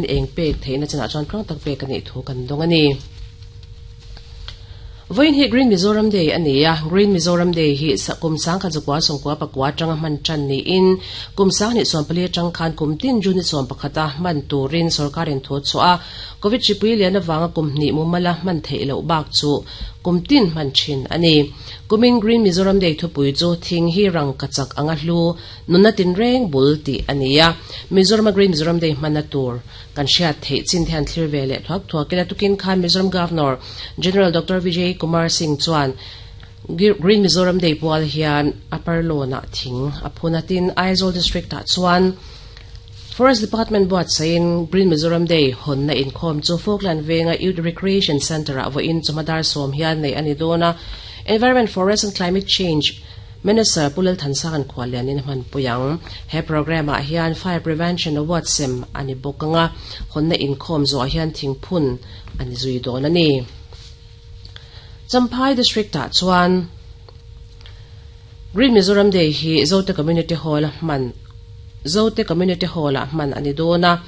Eng pek theihna chinah chuan tluang tak pek a nih thu kan dawng a ni. Vawiin hi Green Mizoram Day a ni a, Green Mizoram Day hi kum sangkhat zakua sawmkua pakua atanga hman tan niin kum sanghnih sawmpali atang khan kum tin June ni sawmpakhata hman turin sorkarin thu a chhuah a, Covid hripui lian avanga kum hnih mumala hman theih loh bak chu kum tin hman thin a ni. Kumin Green Mizoram Day thupui chu thing hi rangka chak anga hlu Nunna tinreng bul tih a ni a, Mizorama Green Mizoram Day hmanna tur kan hriat theih chin te han thlir ve leh thuak thuak ila. Tukin khan Mizoram Governor General Doctor Vijay Kumar Singh chuan Green Mizoram Day pual hian Upper Lawn-ah thing a phun a, tin Aizawl District-ah chuan Forest Department buatsaihin Green Mizoram Day hawnna inkhawm chu Falkland Venga Youth Recreation Centre-ah vawiin chawhma dar sawm hian neih a ni dawn a, Environment, Forest and Climate Change Minister Pu Lalthansanga'n khuallianin a hmanpui ang. He programme ah hian Fire Prevention Award sem a ni bawk ang a, hawnna inkhawm zawhah hian thingphun a ni zui dawn a ni. Champhai District ah chuan Green Mizoram Day hi Zote Community Hall a hman Zote Community Hall ah hman a ni dawn a,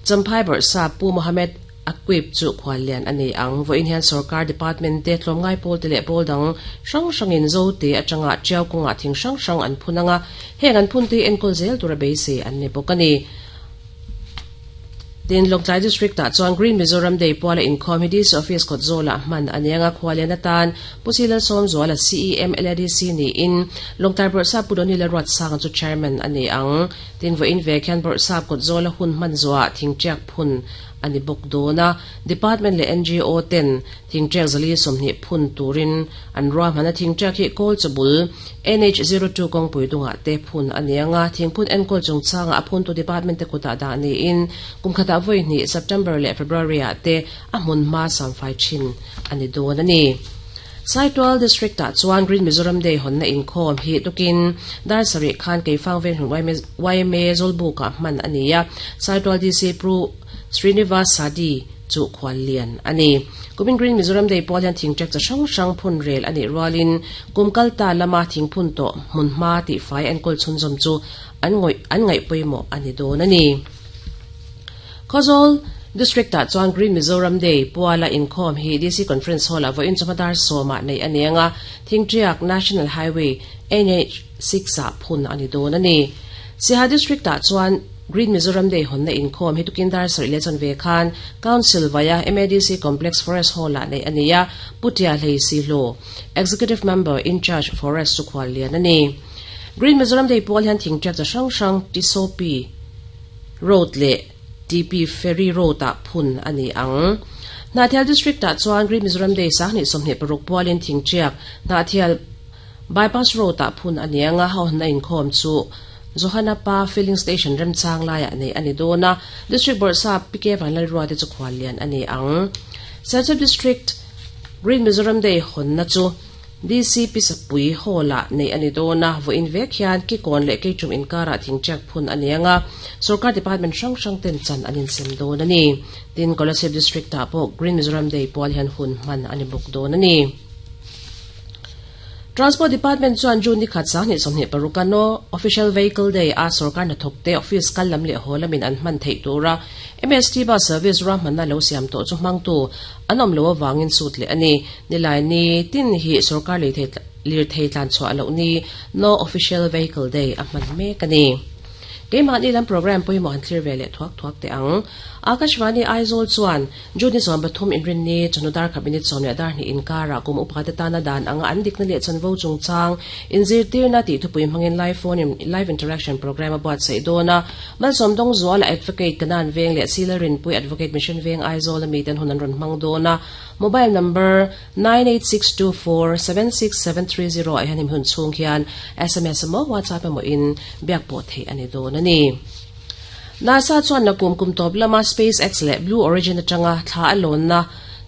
Champhai Bawrhsap Pu Mohammed Aquip chu khuallian a ni ang. Vawiin hian sorkar department te, tlawmngai pawl te leh pawl dang hrang hrangin Zote atanga Tiau kawngah thing hrang hrang an phun ang a, heng an phun te hi enkawl zel tura beisei an ni bawk a ni. Tin, Lawngtlai District ah chuan Green Mizoram Day puala inkhawm hi DC Office kawt zawlah hman a ni ang a, khuallian atan Pu Silalsawmzuala CEM LADC niin Lawngtlai Bawrhsap Pu Donny Lalruatsanga chu Chairman a ni ang. Tin, vawiin vek hian Bawrhsap kawt zawla hun hman zuah thingtiak phun a ni bawk dawn a, Department leh ngo ten thingṭek zali 20 phun turin an ruahman a, thingṭek hi Kawl chawbul NH 02 kawngpui dungah te phun a ni ang a, thingphun enkawl chungchangah a phuntu department te kutah dah niin kum khatah vawi hnih September leh February ah te a hmun hma samfai thin a ni dawn a ni. Saitual District ah chuan Green Mizoram Day hawnna inkhawm hi tukin dar sarih khan Keifang Venghlun yma Zawlbuk ah hman a ni a, Saitual DC Pru Srinivas Sadi chu khual lian a ni. Kumin Green Mizoram Day pawl hian thingṭek chi hrang hrang phun rel a nih rualin kum kal ta lama thingphun tawh hmunhma tihfai enkawl chhunzawm chu an ngawih an ngaih pawimawh a ni dawn a ni. Khawzawl District ah chuan Green Mizoram Day puala inkhawm hi DC Conference Hall ah vawiin chawhma dar sawmah neih a ni ang a, Thingṭiak National Highway, NH, 6 ah phun a ni dawn a ni. Siaha District ah chuan Green Mizoram Day hawnna inkhawm hi tukin dar sarih leh chanve khan Council vaia MADC Complex Forest Hall ah neih a ni a, Pu Tia Hlei Sihlo, Executive Member in-charge Forest chu khuallian a ni. Green Mizoram Day pual hian thingṭiak chi hrang hrang Tisopi, Road leh TP Ferry Road-ah phun a ni ang. Hnahthial District-ah chuan Green Mizoram Day 2026 pualin Thingṭiak, Hnahthial Bypass Road-ah phun a ni ang a, hawnna inkhawm chu Johana Pa Filling Station remchang laiah neih a ni dawn a, District Bawrhsap PK Vanlalruate chu khuallian a ni ang. Serchhip District Green Mizoram Day hawnna chu DC Pisapui Hall-ah neih a ni dawn a, vawiin vek hian Kikawn leh Keichum inkarah thingṭiak phun a ni ang a, sorkar department hrang hrang ten chan an insem dawn a ni. Tin, Kolasib District-ah pawh Green Mizoram Day pual hian hun hman a ni bawk dawn a ni. Transport Department chuan June ni khat 2026 a No Official Vehicle Day a sorkar hnathawkte office kal lam leh haw lamin an hman theih tura MST bus service ruahmanna lo siam tawh chu hmangtu an awm loh avangin sut leh a ni. Nilai ni tin hi sorkar lirthei tlan chhuah loh ni No Official Vehicle Day a hman mek a ni. Keimahni lam programme pawimawh han thlir ve leh thuak thuak teh ang. Akashvani Aizawl chuan June ni 13 inrinni chawhnu dar khat minute sawm leh dar hnih inkarah kum upate tana dan anga an dikna leh chanvo chungchang inzirtirna tih thupui hmangin live phone in live interaction programme a buatsaih dawn a. Malsawm Dawngzuala Advocate Kanan Veng leh Sila Rinpui Advocate Mission Veng Aizawl ami ten hun an rawn hmang dawn a. Mobile number 9862476730 ah hian hemi hun chhung hian sms emaw WhatsApp emaw in biak pawh theih a ni dawn a ni. NASA chuan nakum kum tawp lama SpaceX leh Blue Origin atanga thla a lawnna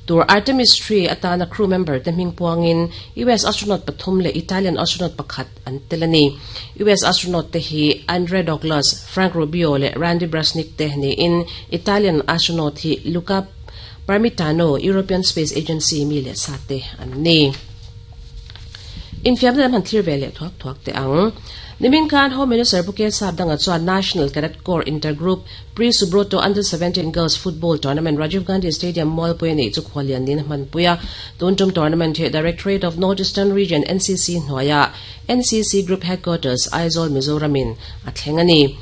tur Artemis 3 atana crew member te hming puangin US astronaut pathum leh Italian astronaut pakhat an tel a ni. US astronaut te hi Andre Douglas, Frank Rubio leh Randy Bresnik te niin Italian astronaut hi Luca Parmitano, European Space Agency mi leh sa te an ni. Infiamna lam han thlir ve leh thuak thuak teh ang. Nimin khan Home Minister Pu K Sapdanga chuan National Cadet Corps Intergroup Pre Subroto Under 17 Girls Football Tournament Rajiv Gandhi Stadium Mualpui a neih chu khuallian niin a hmanpui a. Tun tum tournament hi Directorate of North Eastern Region NCC hnuaiah NCC Group Headquarters Aizawl Mizoram in a thleng a ni.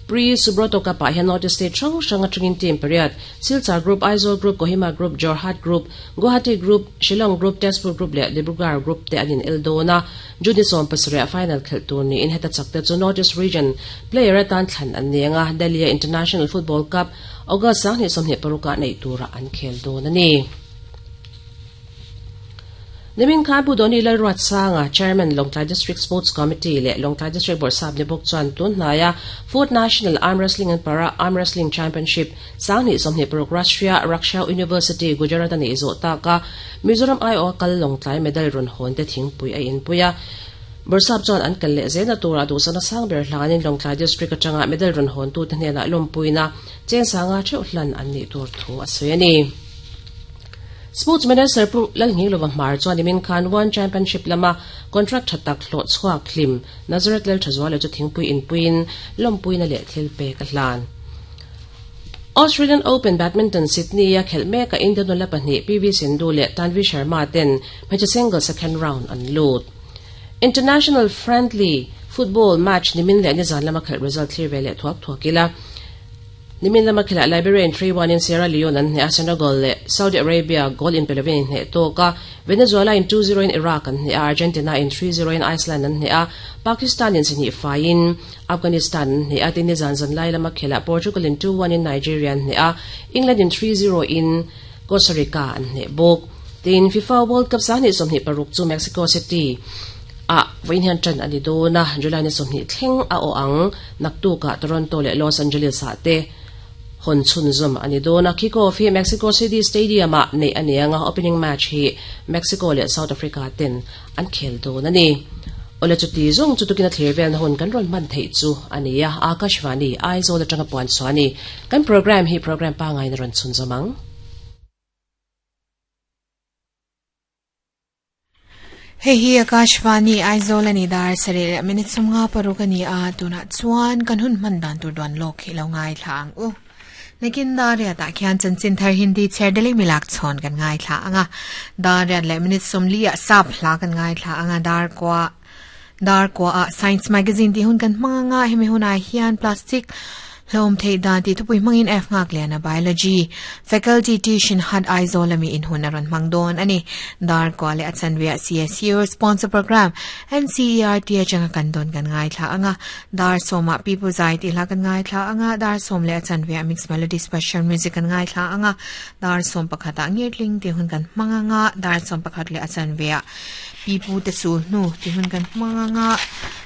Pre Subroto Cup ah hian North East State hrang hrang atangin team pariat Silchar Group, Aizawl Group, Kohima Group, Jorhat Group, Guwahati Group, Shillong Group, Tezpur Group leh Dibrugarh Group te an in el dawn a. June 17 ah final khelh tur niin heta chak te chu North East Region player atan thlan an ni ang a, Delhi a International Football Cup August 2026 ah neih turah an khel dawn a ni. Nimin khan Pu Doni Lalruatsanga, Chairman, Lawngtlai District Sports Committee leh Lawngtlai District Bawrhsap ni bawk chuan tun hnaia Fourth National Arm Wrestling and Para Arm Wrestling Championship 2026 Rashtriya Raksha University, Gujarat a neih zawh tak a, Mizoram aiawha kal Lawngtlai medal rawn hawn te thingpui a inpui a. Bawrhsap chuan an kal leh zelna turah duhsakna sang ber hlanin Lawngtlai District atanga medal rawn hawntute hnenah lawmpuina chengsanga theuh hlan an nih tur thu a sawi a ni. Sports Minister Pu Lalngilova Hmar chuan nimin khan One Championship lama contract tha tak hlawh chhuak hlim Nazareth Lalthazuala chu thingpui inpuiin lawmpuina leh thil pek a hlan. Australian Open Badminton Sydney-a khelh mekah India nula pahnih PV Sindhu leh Tanvi Sharma ten hmeichhe singles second round an lut. International friendly football match nimin leh nizan lama khelh result thlir ve leh thuak thuak ila. Nimin lama khelhah Liberia in 3-1 in Sierra Leone an hneh a, Senegal leh Saudi Arabia goal in pe lovin in hneh tawk a, Venezuela in 2-0 in Iraq an hneh a, Argentina in 3-0 in Iceland an hneh a, Pakistan in sihnih faiin Afghanistan an hneh a, tin nizan zanlai lama khelhah Portugal in 2-1 in Nigeria an hneh a, England in 3-0 in Costa Rica an hneh bawk. Tin, FIFA World Cup 2026 chu Mexico City ah vawiin hian tan a ni dawn a, July ni 20 thleng a aw ang. Naktukah Toronto leh Los Angeles ah te hawn chhunzawm a ni dawn a, kick-off hi Mexico City Stadium ah neih a ni ang a, opening match hi Mexico leh South Africa ten an khel dawn a ni. Awle chuti zawng chu tukin a thlir velna hun kan rawn hman theih chu a ni a, Akashvani, Aizawl atanga puan chhuah a ni. Kan programme hi programme pangngai in a rawn chhunzawm ang. Hei hi Akashvani Aizawl a ni dar sarih leh minute 56 a ni a, tunah chuan kan hun hman dan tur duan lawk hi lo ngaithla ang u. Nakin dar riatah khian chanchin thar Hindi chher Delhi milak chhawn kan ngaithla ang a, dar riat leh minute 40 ah sap hla kan ngaithla ang a, dar kua dar kua ah Science Magazine tih hun kan hmang ang a, hemi hunah hian plastic Hlawm theih dan tih thupui hmangin F Nghakliana Biology Faculty Tuition Hut Aizawl ami inhun a rawn hmang dawn a ni. Dar kua leh a chanveah CSU Sponsor Program NCERT atanga kan dawn kan ngaithla ang a, dar sawmah Pipu Zai tih hla kan ngaithla ang a, dar sawm leh a chanveah Mix Melody Special Music kan ngaithla ang a, dar sawm pakhatah Ngirtling tih hun kan hmang ang a, dar sawm pakhat leh a chanveah Pipu te sul hnu tih hun kan hmang ang a,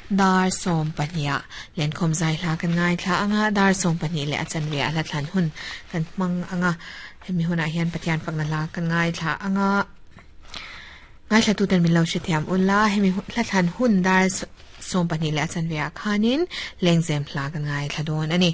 dar 12ah Lenkhawm zai hla kan ngaithla ang a, dar 12 leh a chanve ah hla thlan hun kan hmang ang a, hemi hunah hian Pathian fakna hla kan ngaithla ang a, ngaithla tuten min lo hrethiam ula, hemi hla thlan hun dar 12 leh a chanve ah khanin lengzem hla kan ngaithla dawn a ni.